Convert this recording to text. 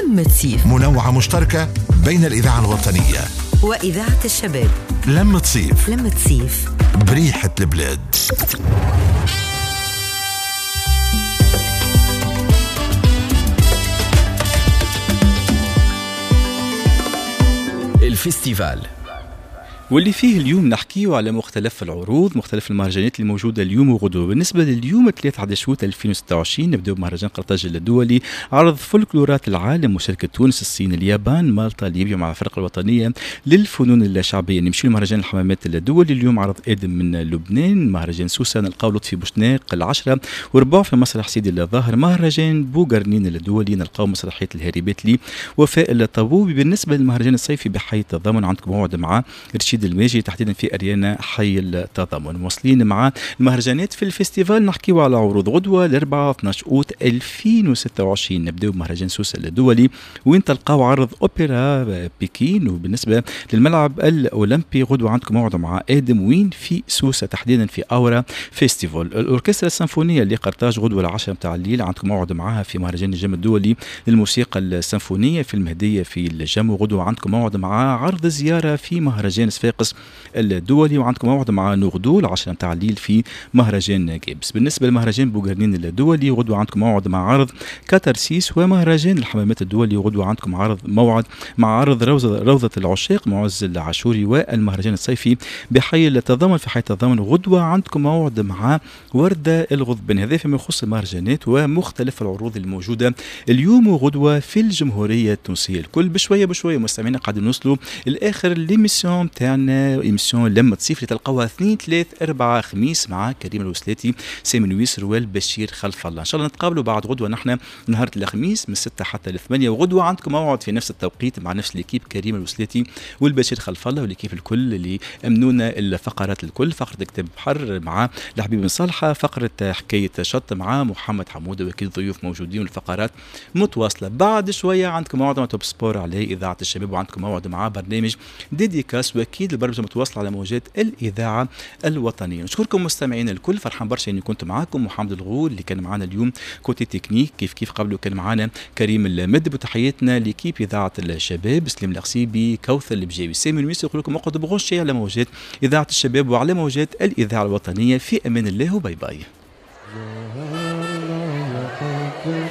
لمة صيف، منوعة مشتركة بين الإذاعة الوطنية وإذاعة الشباب. لمة صيف، لمة صيف بريحة البلاد. ال festival واللي فيه اليوم نحكيه على مختلف العروض، مختلف المهرجانات اللي موجودة اليوم وغدوه. بالنسبة لليوم 3 اوت 2026 نبداو بمهرجان قرطاج الدولي، عرض فولكلورات العالم، مشاركة تونس، الصين، اليابان، مالطا، ليبيا مع الفرق الوطنية للفنون الشعبية. نمشيو لمهرجان الحمامات الدولي اليوم، عرض ادم من لبنان. مهرجان سوسة نلقاو لطفي بوشناق 10:15 في مسرح سيدي الظاهر. مهرجان بوغرنين الدولي نلقاو مسرحية الهاربات لي وفاء الطبوبي. بالنسبة للمهرجان الصيفي بحي التضامن عندكم موعد مع رشيد الماجي تحديدا في اريانا حي التضامن. مواصلين مع المهرجانات في ال festival، نحكيو على عروض غدوه الاربعاء 12 اوت 2026. نبداو بمهرجان سوسة الدولي وين تلقاو عرض اوبرا بكين. وبالنسبة للملعب الاولمبي غدوه عندكم موعد مع ادم وين في سوسة تحديدا في اورا festival. الاوركسترا السيمفونية لقرطاج غدوه 10 متاع الليل عندكم موعد معها في مهرجان الجم الدولي للموسيقى السيمفونية في المهدية في الجم. وغدوه عندكم موعد مع عرض زيارة في مهرجان صفاقس الدولي، وعندكم موعد مع نوغدو 10 متاع الليل في مهرجان جيبس. بالنسبة لمهرجان بوغرنين الدولي غدوه عندكم موعد مع عرض كاتارسيس. ومهرجان الحمامات الدولي غدوه عندكم عرض موعد مع عرض روضة العشاق معز العاشوري. والمهرجان الصيفي بحي التضامن في حي التضامن غدوه عندكم موعد مع ورده الغضبان. هذا فيما يخص المهرجانات ومختلف العروض الموجودة اليوم وغدوه في الجمهورية التونسية الكل. بشوية بشوية مستمعينا قاعدين نوصلوا لاخر l'émission تاعنا، émission لمة صيف اللي تلقاوها 2 3 4 خميس مع كريم الوسلاتي، سامي نويسر والبشير خلف الله. ان شاء الله نتقابلوا بعد غدوه نحن نهار الخميس من 6 حتى ل 8، وغدوه عندكم موعد في نفس التوقيت مع نفس l'équipe كريم الوسلاتي والبشير خلف الله و l'équipe الكل اللي امنونا الفقرات الكل. فقره كتاب بحر مع الحبيب بن صالحه، فقره حكاية شط مع محمد حموده، واكيد ضيوف موجودين والفقرات متواصلة. بعد شوية عندكم موعد مع Top Sport على اذاعة الشباب، وعندكم موعد مع برنامج dédicace، واكيد البرمجة متواصلة على موجات الاذاعة الوطنية. نشكركم مستمعينا الكل، فرحان برشا اني كنت معاكم. محمد الغول اللي كان معنا اليوم côté technique، كيف كيف قبله كان معنا كريم المدب، وتحياتنا l'équipe اذاعة الشباب، سليم القصيبي، كوثر البجاوي، سامي نويس. يقول لكم اقعدوا branchés على موجات اذاعة الشباب وعلى موجات الاذاعة الوطنية. في امان الله و bye bye.